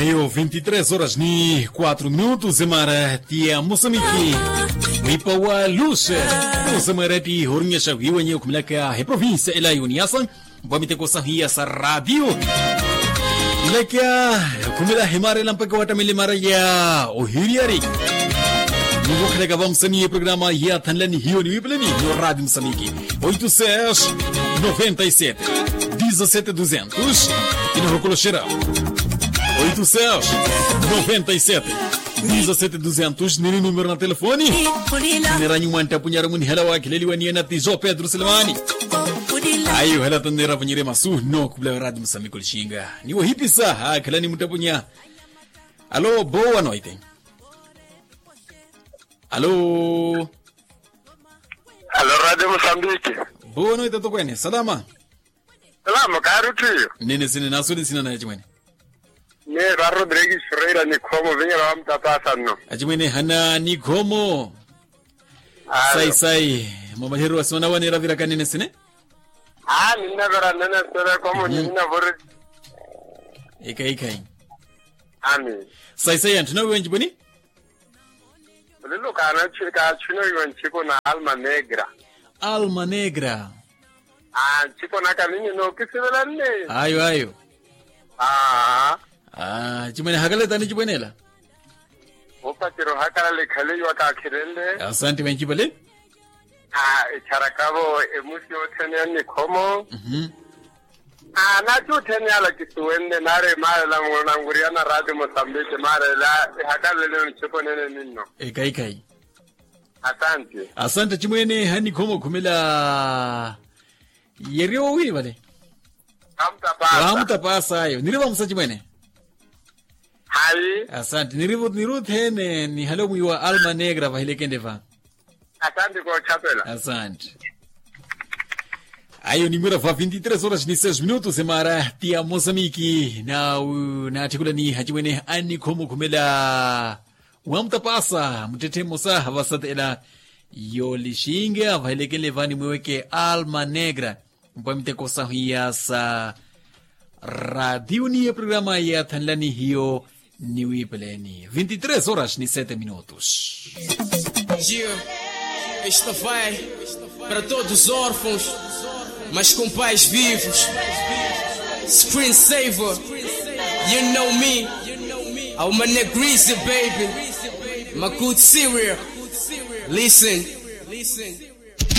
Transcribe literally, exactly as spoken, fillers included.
Iyo vinti tres horas ni quatro minutos emara ti ya mosamiki, mwipa wa lus. Osemwera ti orinyaxa wiiwanyi okhumelaka eprovincia ela yoniasa mpwa miteko sahiya sa radio. Lekya khumela himara ela mpaka watamele mara ya ohiriyari. Nivokhelaka vamusani ye programa ya thanlani hiyo ni wipeleni yo radio musamiki. Oito seis noventa e sete dezessete duzentos. Inahokoloxera oito seis noventa e sete dezessete duzentos nini numero na telefoni. Neranyu mwantapunyaro munihala wakhileliwa niyena tijo pedro selemani. Ayi ohala tanera vanyire masu no khupula radio musamiko lishinga niwo hipisa hakhala ni mutapunya. Alo bowa noite. Alo. Alo radio musambiki. Bowa noite tokwene salama. Salama kaari uttiyo. Nene sine nasuli sina naye chimwene. Ni va rodrigues ferreira nikhomo vinyela wa mutapasa nno. Achimwene hana nikhomo. Sayi sayi. Mwamaliheryo wasi wanawanera virakanene sine. Aa ninnavera nnene sere khomo ninnavori. Ekhayi ekhayi. Ami. Sayi sayi anthu nawiwa ncipweni. Muliluka kaathinowiwa ncipo na alma negra. Alma negra. Aa ncipo naka ninyi nookisivela nne. Ayo ayo. Aa. Aa chimwene hakale tani chipwenela. Opatira ohakalala ekhale iwa kaakhirenle. Asanti vencipale. Aa echaraka-vo emusi yothene ya nnikhomo. Aa naatthi othene ala kisuwenle naari maarela munankuriyana raati mosambiki maarela. Ehakaleleni ncipo nene ninno. Ekhayi ekhayi. Asanti. Asanti chimwene ha nnikhomo okhumela. Yeriwa wowili vale. Wamutapasa ayo niri vamusa chimwene. Hayi. Asanti niri othene nihale omwiiwa alma negra vahilekende va. Asanti koochapela. Asanti. Ayo nimwira va vinti tres horas ni seis minutos emara ti ya mosamiki naatthikula ni hachimwene annikhomo okhumela. Wamutapasa muttetthe mmosa vasatela. Yoolixinga vahelekenle vaani mwiweke alma negra. Mpwa miteko sahiya sa radio ni eprograma ya thanlani hiyo. Niwipeleni vinti tres horas ni sete minutos. Esta vai para todos os órfãos, mas com pais vivos. Screen saver, you know me. Ao manegrice baby, my good serial. Listen.